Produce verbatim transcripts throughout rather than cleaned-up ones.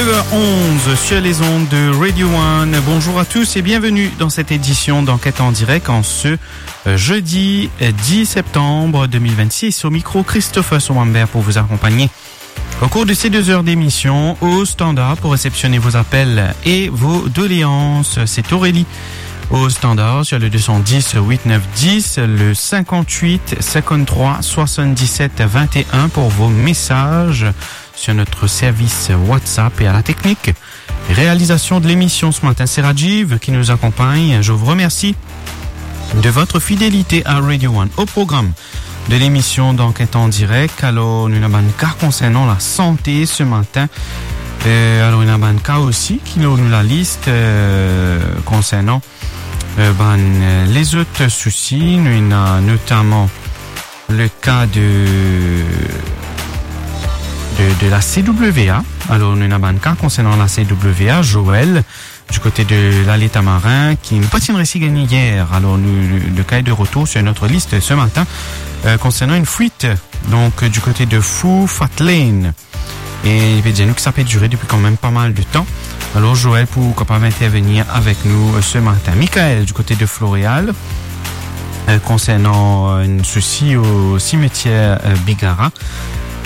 Neuf heures onze sur les ondes de Radio One. Bonjour à tous et bienvenue dans cette édition d'Enquête en direct en ce, euh, jeudi, euh, dix septembre deux mille vingt-six. Au micro, Christopher Soumambert pour vous accompagner au cours de ces deux heures d'émission au standard pour réceptionner vos appels et vos doléances. C'est Aurélie au standard sur le deux cent dix huit neuf dix, le cinquante-huit cinquante-trois soixante-dix-sept vingt et un pour vos messages sur notre service WhatsApp. Et à la technique, réalisation de l'émission ce matin, c'est Rajiv qui nous accompagne. Je vous remercie de votre fidélité à Radio One. Au programme de l'émission d'Enquête en direct, alor nou ena bann ka konsernan lasante se matin. Euh, alor nou ena bann ka osi ki lor nou lalis, euh, konsernan, euh, bann, euh, lezot sousi. Nou ena notaman le ka de, de, de la C W A. Alor nou ena bann ka konsernan la C W A, Joël, du côté de l'Allée Tamarin, ki nou pa ti resi gagn yer. Alors, nous, le, le cas est de retour sur notre liste ce matin, euh, concernant une fuite, donc, euh, du côté de Fou Fat Lane. E li pe dir nou ki sa pe dire depi kanmem pa mal de tan. Alors, Joël pou kapav intervenir avec nous, euh, ce matin. Michael, du côté de Floréal, euh, concernant, euh, un souci au cimetière, euh, Bigara.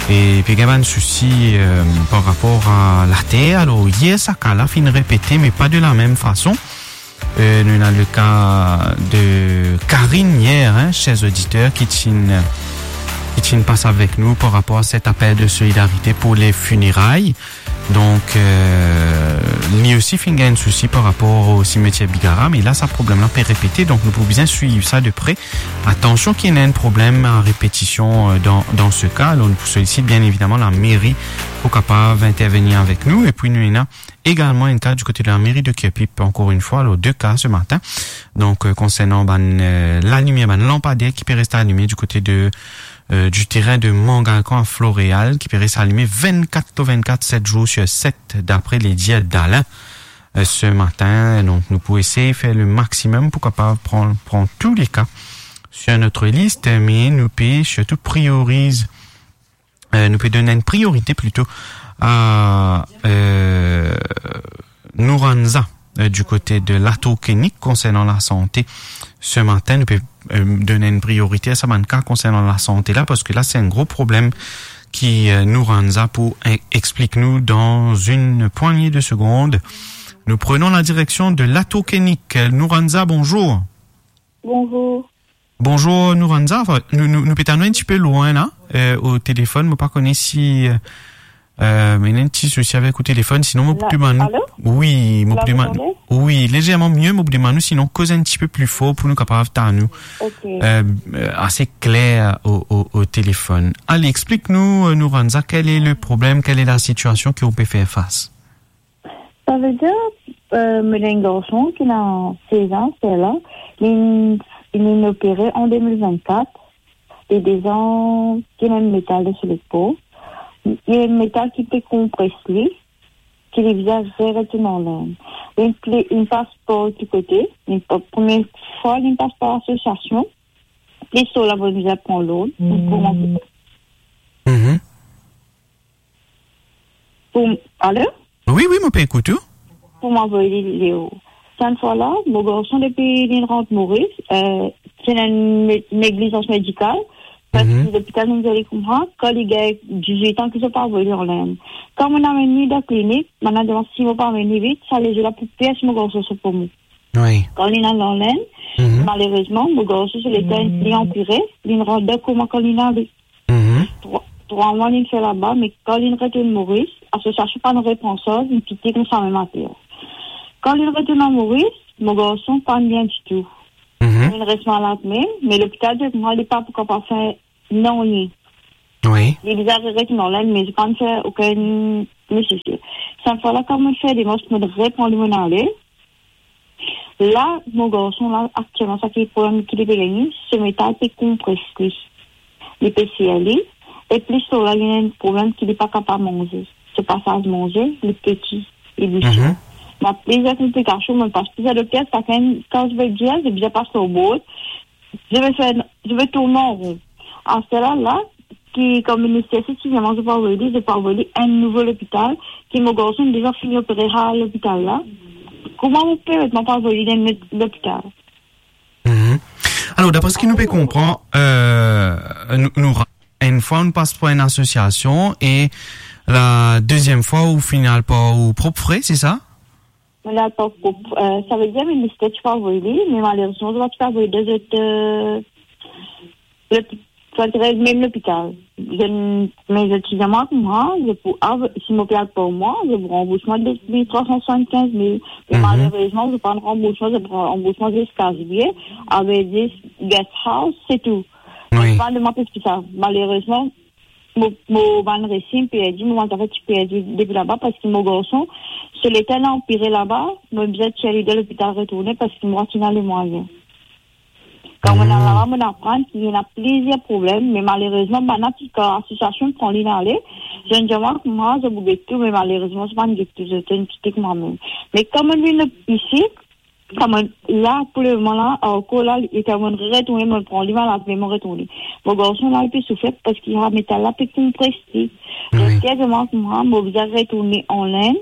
E pe gagn bann sousi, euh, par rapor a later. Alor, yer sa ka la finn repete, me pa de la mem fason. Euh, nou ena le ka de Karine yer, hein, cher auditeur, ki ti, ki ti pas avek nou par rapor a set apel de solidarite pou le fineray. Donk, euh, li osi finn gagn sousi par rapor o simetier Bigara, me la, sa problem la pe repete, donk nou pou bizin swiv sa de pre. Atansion ki ena enn problem a repetision, euh, dan, dan se ka. Alor, nou pou solisit bien evidaman lameri pou kapav intervenir avek nou. E pi nou ena egalman enn ka du kote de lameri de Kirpip, ankor enn fwa, alor de ka se matin. Donk, euh, konsernan bann, euh, lalimier, bann lanpader ki pe reste alime du kote de, euh, du terin de Mangalkan a Floréal, ki pe reste alime vennkat lor vennkat, set zour sir set, dapre le dir d'Alain, euh, se matin. Donk, nou pou esey fer le maximum pou kapav pran, pran tou le ka sur notre liste, me nou pe sirtou prioriz, euh, nou pe donn enn priorite plito a, euh, Nouranza, euh, du kote de Latour Klinik konsernan lasante. Se matin, nou pe, euh, donn enn priorite a sa bann ka konsernan lasante la, parski la, se enn gro problem ki, euh, Nouranza pou e-, explik nou dan enn pwagne de segond. Nous prenons la direction de Latour Klinik. Nouranza, bonjour. Bonjour. Bonjour, Nouranza. Anfin, nou, nou, nou pe tann ou enn tipe lwin la, euh, o telefon. Mo pa kone si, euh, euh, ena enn ti sousi avek ou telefon, sinon mo pou demann ou. Alo? Wi, mo pou demann ou. Wi, lezerman mie, mo pou demann ou, sinon koz enn tipe pli for pou nou kapav tann ou. Ok. Euh, euh, ase kler o, o, o telefon. Ale, explik nou, euh, Nouranza, quel est le problème, quelle est la situation ki ou pe fer fas? Savedir, euh, mo ena enn garson ki ena sez an, sela, li, li inn opere an de mil vennkat, li deza ki ena enn metal dan so lepo, enn metal ki pe konpres li, ki li bizin retourn an Lenn. Li pli, li pas par ki kote, li pa, premie fwa li pas par lasosiasion, pli so la, mo bizin pran lord, pou koumans. Mhm. Pou, alo? Wi, wi, mo pe ekout ou. Pou mo avoy li lor. Sa enn fwa la, mo garson depi li rant Moris, euh, ti ena enn ne-, neglizans medikal, parski lopital inn dir li koumsa, kan li gagn dizwit an ki zot pa avoy li an Lenn. Kan mo amenn li dan klinik, bann la demann si mo pa amenn li vit, sa lezot la pou pir si mo garson so poumon. Wi. Kan li al an Lenn, malerezman, mo garson so leta inn pli anpire, li rant dan koma kan li ale. Mhm. Trwa, trwa mwa li fer laba, me kan li retourn Moris, asosiasion pa inn repran sa, li kite koumsa mem ater. Kan li retourn an Moris, mo garson pa bien ditou. Mhm. Li res malad mem, me lopital dir mwa li pa pou kapav fer nanye. Wi. Li bizin retourn an Lenn, me li pa inn fer okenn nesesite. Sa enn fwa la, kan mo fer demars, mo repran li, mo ale. La, mo garson la, aktielman, sa ki problem ki li pe gagne, so metal pe konpres li. Li pe sir li, e plis lor la, li ena enn problem ki li pa kapav manze. So pasaz manze, li peti, li bouche. Mhm. Mo ena plizier konplikasion, mo pas plizier dokter, sakenn, kan zot pe dir, zot bizin pas lor bord, zot pe fer, zot pe tourn an ron. Aster la, la, ki, kouma minister, si ti vinn, mwa, zot pa avoy li, zot pa avoy li enn nouvo lopital, ki mo garson deza fini opere sa lopital la. Kouma mo pe met, mo pa avoy li dan enn lot lopital? Mhm. Alor, dapre seki nou pe konpran, euh, nou, nou ra-, enn fwa nou pas par enn asosiasion e la deziem fwa ou finn al par ou prop fre, se sa? Mo al par prop, euh, savedir minister ti pe avoy li, me malerezman, zot pa ti pe avoy li dan zot, euh, lot, sa ti rod mem lopital. Zot, me zot ti dir mwa, kouma, zot pou av-, si mo pe al par mwa, zot pou ranbours mwa de mil trwa san swasannkinz mil. Me Mhm. malerezman, zot pa ranbours mwa, zot ranbours mwa ziska zilye, avek zis guest house, se tou. Wi. Pa demann plis ki sa. Malerezman, mo, mo bann resi, mo perdi, mo bann zafer ti perdi depi laba, parski mo garson, so leta inn anpire laba, mo bizin tir li dan lopital retourne, parski mo pa ti ena lemwayin. Kan mo al Hmm. laba, mo aprann ki ena plizier problem, me malerezman, bann ki, kan asosiasion pran li ale, zot inn dir mwa, kouma, zot pou get tou, me malerezman, zot pa'nn get tou, zot inn kite mwa mem. Me kan mo vinn isi, kouma la, pou lemoman la, ankor la, e kan mo retourne, mo pran li malad, me mo retourne. Mo garson la, li pe soufer parski, ah, metal la pe konpres li. Wi. Dokter dir mwa, kouma, mo bizin retourne an Inde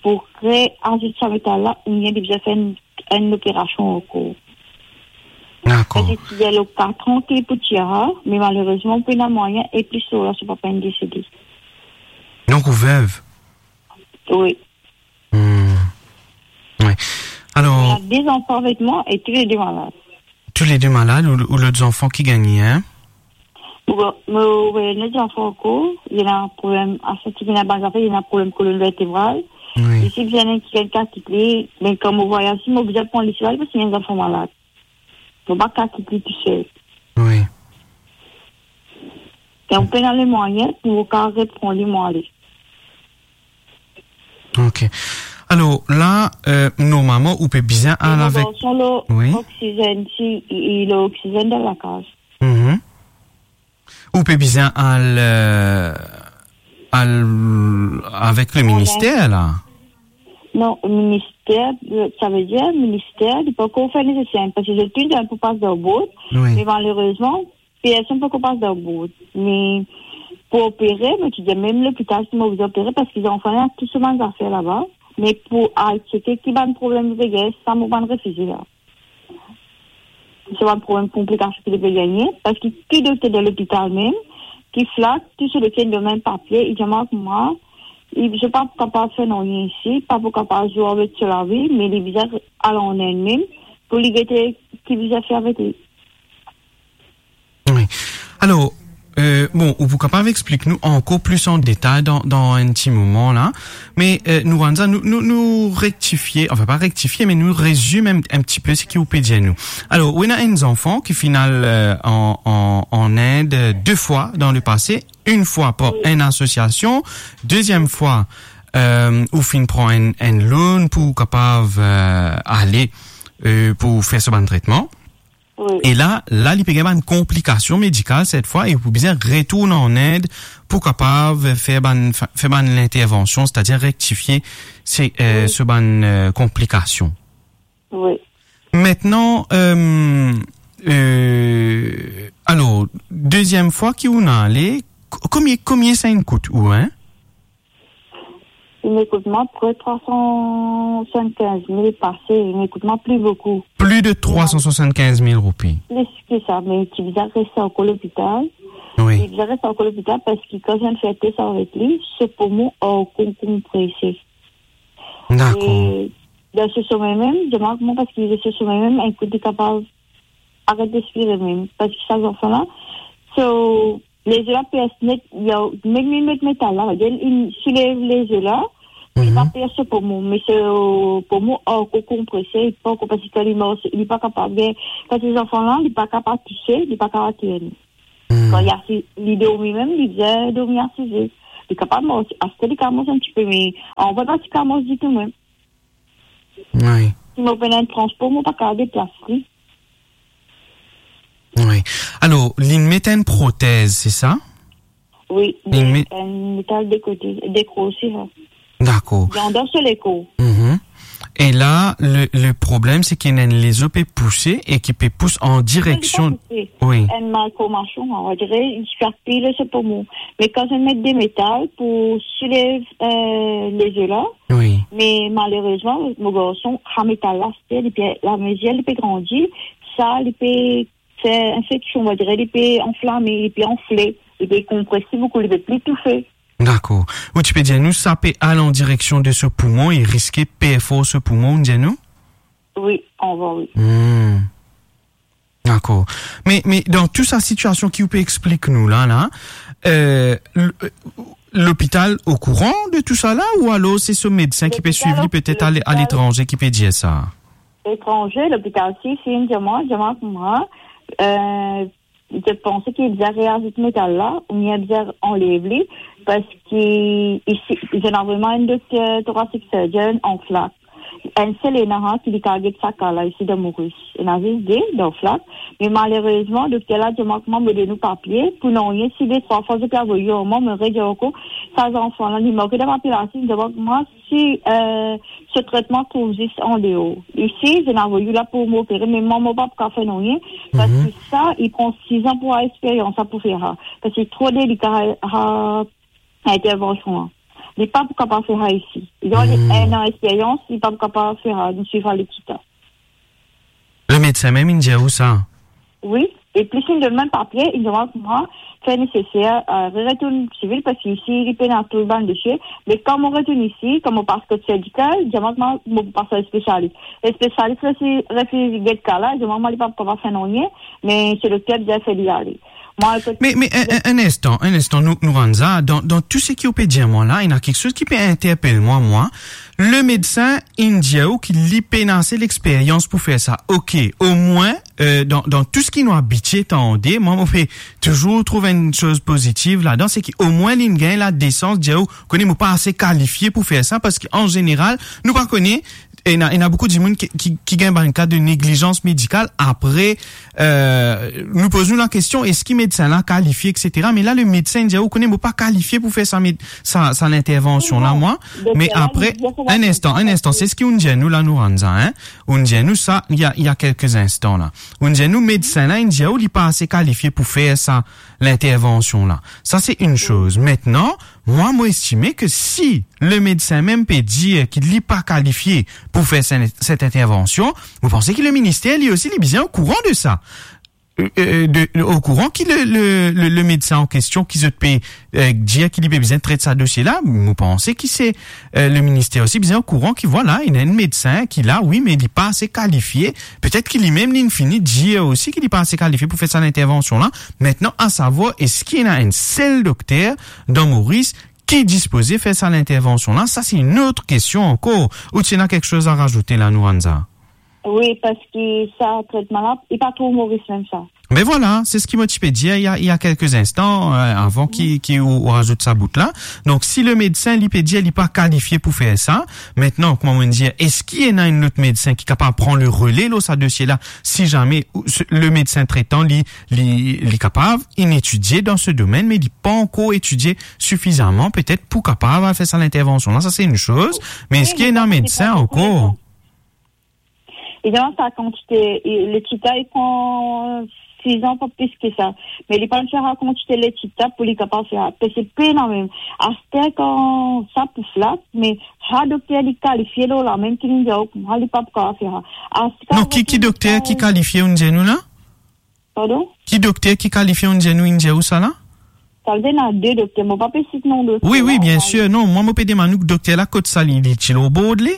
pou reazout sa metal la, oubien li bizin fer enn, enn operasion ankor. Dakor. Parski ti dir lor katran ki pou tir, me malerezman, pena mwayin, e plis lor la, so papa inn desede. Donk, ou vev? Wi. Hmm. Wi. Alor, ena de zanfan avek mwa e toulede malad. Toulede malad ou, ou lot zanfan ki gagne, hein? Bon, mo, mo, wi, lot zanfan ankor, li ena problem, asanti li ena bann zafer, li ena problem kolonn vertebral. Wi. Isi, bizin enn ki gagn kakiz li, me kan mo vwayaz, si mo bizin pran li sirtou, parski li enn zanfan malad. Mo pa kakiz li tousel. Wi. E mo pena lemwayin pou mo kapav repran li, mo ale. Ok. Alor, la, euh, normalman, ou pe bizin al avek... Mo garson lor oksizenn, si, li, li lor oksizenn dan lakaz. Mhm. Ou pe bizin al, euh, al avek le minister, la? Non, minister, euh, savedir, minister, li pankor fer neseser, parski zot inn dir pou pas dan bord, wi, me malerezman, personn pankor pas dan bord. Me pou opere, mo ti dir mem lopital, si mo bizin opere, parski zanfan la ena tou so bann zafer laba, me pou al tcheke ki bann problem li pe gagne, sa mo pa'nn refize la. So bann problem, konplikasion ki li pe gagne, parski ki dokter dan lopital mem, ki flat, tou so dokter inn donn mem papie, li dir mwa, kouma, li, zot pa kapav fer nanye isi, pa pou kapav zour avek so lavi, me li bizin al an Inde mem, pou li gete ki bizin fer avek li. Wi. Alor, euh, bon, ou pou kapav explik nou ankor plis an detay dan, dan enn ti moman la. Me, euh, nou, Wanza, nou, nou, nou rektifie, anfin, pa rektifie, me nou rezime enn, enn ti pe seki ou pe dir nou. Alor, ou ena enn zanfan ki finn al, euh, an, an, an Inde, euh, de fwa dan lepase, enn fwa par enn asosiasion, deziem fwa, euh, ou finn pran enn, enn loan pou kapav, euh, ale, euh, pou fer so bann tretman. Wi. E la, la, li pe gagn bann konplikasion medikal set fwa e pou bizin retourn an Inde pou kapav fer bann, fer bann lintervansion, setadir rektifie se, euh, wi, so bann, euh, konplikasion. Wi. Aster, euh, euh, alor, deziem fwa ki ou inn ale, ko-, komie, komie sa inn kout ou, hein? Li inn kout mwa pre trwa san swasannkinz mil pase, li inn kout mwa pli boukou. Plis de trwa san swasannkinz mil roupi. Plis ki sa, me ti bizin res ankor lopital. Wi. Ti bizin res ankor lopital parski kan zot inn fer tes avek li, so pomon ankor konprese. Dakor. E dan so some mem, dir mwa kouma, parski dan so some mem, enn kout li kapav aret respire mem, parski sa zanfan la, so, lezo la pers net, li a, mem li met metal la, li, li souleve lezo la, li pa pers so pomon, me so pomon ankor konprese, li pa ankor, parski kan li mars, li pa kapav, kan se zanfan la, li pa kapav touse, li pa kapav tenir. Hmm. Kan li asize, li dormi mem, li bizin dormi asize. Li kapav mars, aster li kapav mars enn tipe, me avan li pa ti kapav mars ditou mem. Wi. Si mo pena enn transpor, mo pa kapav deplas li. Wi. Alor, li met enn protez, se sa? Wi, li met enn metal de kote, de krosi, la. Dakor. Li andan so lekor. Mhm. E la, le, le problem, se ki ena enn lezo pe pouse e ki pe pous an direksion. Li pa pouse. Wi. Enn malformasion, on va dire, li swiv pli so poumon. Me kan zot met de metal pou soulev, eh, lezo la, wi, me malerezman, mo garson, sa metal la, se, li pe, lamezir li pe grandi, sa, li pe fer infeksion, on va dire, li pe anflame, li pe anfle, li pe konprese boukou, li pe pli toufe. Dakor. Ou ti pe dir nou, sa pe al an direksion de so poumon e riske perfor so poumon, ou dir nou? Wi, anvan, wi. Hmm. Dakor. Me, me dan tou sa sitiasion ki ou pe explik nou la, la, eh, l-, lopital okouran de tou sa la, ou alor se so medsin ki pe swiv li, petet ale, aletranze, ki pe dir sa? Lopital okouran. Etranze, lopital si, si, inn dir mwa, dir mwa kouma, eh, zot panse ki li bizin reazout metal la, oubien bizin anlev li, parski isi, zot ena vremem enn dokter thoracic surgeon an Flacq. Enn sel ena, ha, ki li kav get sa ka la isi dan Moris. Ena zis de dan Flacq. Me malerezman, dokter la dir mwa kouma mo donn ou papie, pou nanye, si de trwa fwa zot pe avoy ar mwa, mo redir ankor, sa zanfan la, li marke dan papie la, si, dir mwa kouma, si, eh, so tretman trouv zis andeor. Isi, zot ena avoy ou la pou mo opere, me mwa, mo pa pou kav fer nanye, parski sa, li pran sizan pou ar experience sa pou fer sa. Parski tro delika, sa, sa intervention la. Li pa pou kapav fer sa isi. Li ena enn an experience, li pa pou kapav fer sa, nou swiv sa lekip la. Le medsin mem, inn dir ou sa? Wi, e plis inn donn mwa papie, inn dir mwa, fer neseser, eh, re-, retourn sivil, parski isi, li pena tou bann dosie. Me kan mo retourn isi, kan mo pas kot serdikal, dir mwa, mo pou pas ar spesialis. E spesialis la, si refiz get ka la, dir mwa, li pa pou kapav fer nanye, me so dokter bizin fer li ale. Mwa, kot... Me, me, enn, enn, enn instan, enn instan, nou, Nouranza, dan, dan tou seki ou pe dir mwa la, ena kiksoz ki pe interpel mwa, mwa. Le medsin, inn dir ou ki li pena ase lexperyans pou fer sa. Ok, omwin, eh, dan, dan tou seki nou abitie tande, mwa, mo pe touzour trouv enn soz pozitiv ladan, se ki omwin li'nn gagn ladesans dir ou, kone, mo pa ase kalifie pou fer sa, parski an zeneral, nou pa kone, ena, ena boukou dimoun ki, ki, ki gagn bann ka de neglizans medikal apre, eh, nou poz nou lakestion, eski medsin la kalifie, et cetera. Me la, le medsin dir ou, kone, mo pa kalifie pou fer sa med-, sa, sa lintervansion la, mwa. Me apre, enn instan, enn instan, se seki ou'nn dir nou la, Nouranza, hein? Ou'nn dir nou sa, il y a, il y a quelques instants la. Ou'nn dir nou, medsin la, inn dir ou, li pa ase kalifie pou fer sa lintervansion la. Sa, se enn soz. Aster, mwa, mo estime ki si le medsin mem pe dir ki li pa kalifie pou fer se-, set intervansion, mo panse ki le minister, li osi, li bizin okouran de sa. Eh, eh, de, okouran ki le, le, le, le medsin an kestion ki zot pe, eh, dir ki li pe bizin tret sa dosie la, mo panse ki se, eh, le minister osi bizin okouran ki, vwala, ena enn medsin ki la, wi, me li pa ase kalifie. Petet ki limem, li'nn fini dir osi ki li pa ase kalifie pou fer sa lintervansion la. Aster, a savwar, eski ena enn sel dokter dan Moris ki dispoze fer sa lintervansion la? Sa, se enn lot kestion ankor. Ou ti ena kiksoz a razoute la, Nouranza? Wi, parski sa tretman la, li pa tro Moris mem sa. Ben vwala, se seki mo ti pe dir il y a, il y a quelques instants, eh, avan ki, ki ou, ou razout sa bout la. Donk, si le medsin, li pe dir li pa kalifie pou fer sa, aster, kouma mo'nn dir, eski ena enn lot medsin ki kapav pran le rele lor sa dosie la, si zame ou, se, le medsin tretan, li, li, li kapav, inn etidie dan se domenn, me li pa ankor etidie sifizaman, petet, pou kapav al fer sa lintervansion la? Sa, se enn soz. Me eski ena medsin ankor? Wi, me sa, se pa ankor. E dan sa kantite, e, letit la, li pran sizan, pa plis ki sa. Me li pa fer sa kantite letit la pou li kapav fer sa. Parski pena mem. Aster, kan sa pou Flacq, me sa dokter li kalifie lor la mem ki li'nn dir ou, sa li pa pou kapav fer sa. Aster... Non, ki, ki dokter ki kalifie, ou'nn dir nou la? Pardon? Ki dokter ki kalifie, ou'nn dir nou, inn dir ou sa la? Savedir ena de dokter, mo pa pe sit non de dokter. Wi, wi, biensir. Non, mwa, mo pe demann ou, dokter la, kot sa li, li ti lor bord li?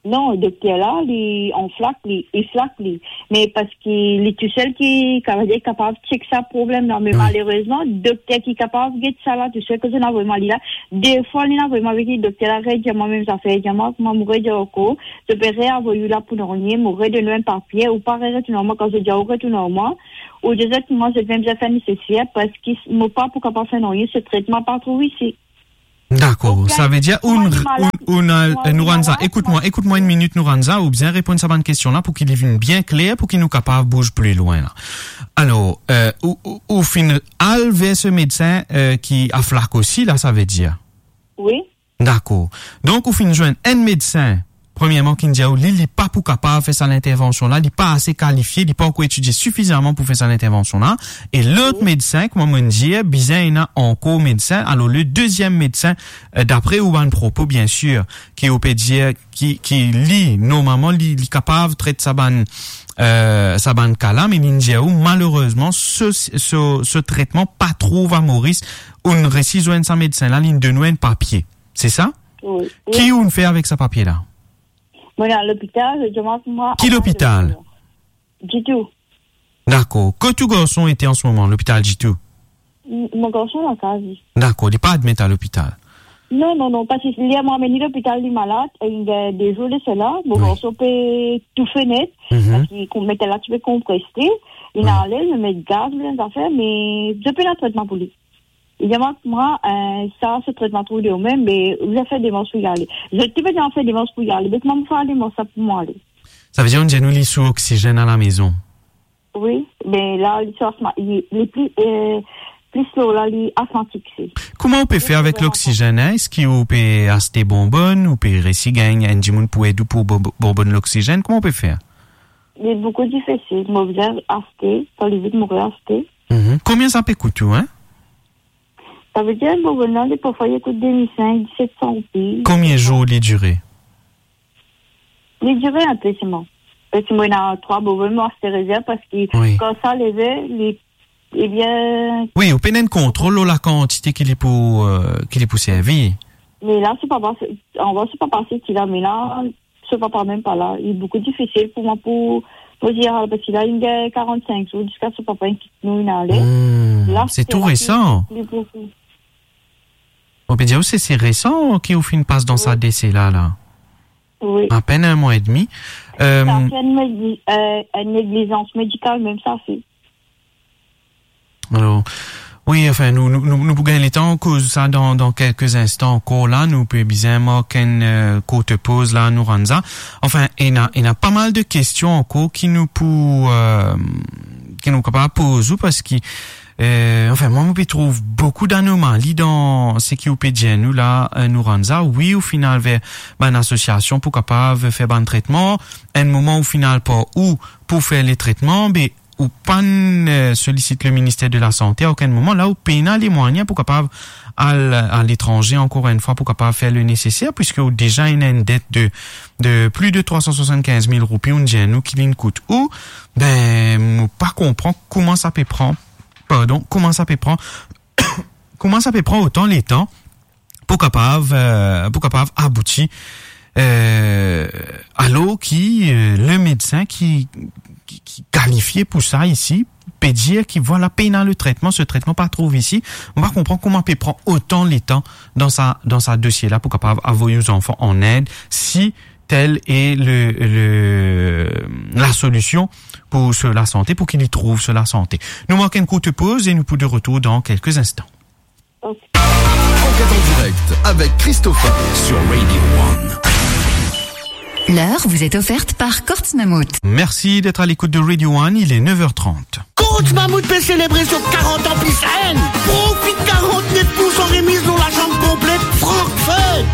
Non, dokter la, li an Flacq li, li Flacq li. Me parski li tousel ki, savedir, kapav check sa problem la. Me malerezman, dokter ki kapav get sa la tousel, kouma ena vremem li la, de fwa li'nn vremem avek li, dokter la redir mwa mem zafer, dir mwa, kouma mo redir ankor, zot pe reavoy ou la pou nanye, mo redonn ou enn papie, ou pa retourn ar mwa, kan zot dir ou retourn ar mwa, ou dir zot, mwa, zot mem bizin fer neseser, parski mo pa pou kapav fer nanye, se tretman pa trouv isi. Dakor, savedir, ou, ou, ou, eh, Nouranza, ekout mwa, ekout mwa enn minit, Nouranza, ou bizin reponn sa bann kestion la pou ki li vinn bien kler, pou ki nou kapav bouz pli lwin la. Alor, eh, ou, ou, ou finn al ver se medsin, eh, ki a Flacq osi la, savedir? Wi. Dakor. Donk, ou finn zwenn enn medsin Premierman, ki'nn dir ou li, li pa pou kapav fer sa lintervansion la, li pa ase kalifie, li pa ankor etidie sifizaman pou fer sa lintervansion la. E lot medsin, kouma mo'nn dir, bizin ena ankor medsin. Alor, le deziem medsin, eh, dapre ou bann propo, biensir, ki ou pe dir, ki, ki li, normalman, li, li kapav tret sa bann, eh, sa bann ka la, me li'nn dir ou, malerezman, se, se, se tretman pa trouv a Moris. Ou'nn resi zwenn sa medsin la, li'nn donn ou enn papie. Se sa? Wi. Ki ou'nn fer avek sa papie la? Mo'nn al lopital, zot dir mwa... Ki lopital? Ditou. Dakor. Kot ou garson ete an se moman, lopital Ditou? M-, mo garson lakaz li. Dakor, li pa admet a lopital? Non, non, non, parski li, mo amenn li lopital, li malad, e li gagn de zour de sela, mo garson pe toufe net, parski konp-, met la ti pe konpres li, li ena ale, li met gaz, li ena zafer, me zot pena tretman pou li. Li dir mwa, eh, sa, se tretman trouv de ou mem, me ou bizin fer demars pou li ale. Zot ti pe bizin fer demars pou li ale, me kouma mo fer demars sa pou mo ale? Savedir, ou'nn dir nou li sou oksizenn alamezon? Wi, me la, li sou asma-, li, li pli, eh, pli lor la, li asmatik, se. Kouma ou pe fer avek loksizenn, en? Eski ou pe aste bonbonn, ou pe resi gagn enn dimoun pou ed ou pou bo-, bonbonn loksizenn? Kouma ou pe fer? Li boukou difisil, mo bizin aste, kan li vid, mo pe aste. Mhm. Konbien sa pe kout ou, en? Savedir, bonbonn la, li parfwa li kout de mil senk, diset san roupi. Konbien zour li dire? Li dire inpe selman. Parski mo ena trwa bonbonn, mo aste rezerv, parski kan sa leve, li, ebien... Wi, ou pena enn kontrol lor lakantite ki li pou, eh, ki li pou servi. Me la, so papa, anvan so papa soti la, me la, so papa mem pa la. Li boukou difisil pou mwa pou, pou dir, parski la, li gagn karant-sink zour, ziska so papa inn kit nou, inn ale. Hmm, se tou resan. Mo pe dir ou, se, se resan ki ou finn pas dan sa dese la, la. Wi. Apenn enn mwa edmi. Eh, sa se enn negli-, eh, enn neglizans medikal mem sa, se. Alor, wi, anfin, nou, nou, nou, nou pou gagn letan koz sa dan, dan kelke instan ankor la. Nou pe bizin mark enn, eh, kourt poz la, Nouranza. Anfin, ena, ena pa mal de kestion ankor ki nou pou, eh, ki nou kapav poz ou, parski, eh, anfin, mwa, mo pe trouv boukou danomali dan seki ou pe dir nou la, eh, Nouranza. Wi, ou finn al ver bann asosiasion pou kapav fer bann tretman. Enn moman ou finn al par ou pou fer le tretman, be ou pa'nn, eh, solisit le Ministère de la Santé a okenn moman. La, ou pena lemwayin pou kapav al aletranze ankor enn fwa pou kapav fer le neseser, piski ou deza ena enn det de, de plis de trwa san swasannkinz mil roupi, ou'nn dir nou ki li'nn kout ou. Be, mo pa konpran kouma sa pe pran, pardon, kouma sa pe pran, kouma sa pe pran otan letan pou kapav, eh, pou kapav abouti, eh, alor ki, eh, le medsin ki, ki, ki kalifie pou sa isi pe dir ki, vwala, pena le tretman, se tretman pa trouv isi. Mo pa konpran kouma pe pran otan letan dan sa, dan sa dosie la pou kapav avoy ou zanfan an Inde, si tel e le, le, la solision pou so lasante, pou ki li trouv so lasante. Nou mark enn kourt poz e nou pou de retour dan kelke instan. Enquête en direct avec Christopher sur Radio One. L'heure vous est offerte par Courts Mammouth. Merci d'être à l'écoute de Radio One, il est neuf heures trente. Courts Mammouth pe selebre so karant an plis enn. Profit karant-nef poursan remiz lor lazam konplet Frankfurt.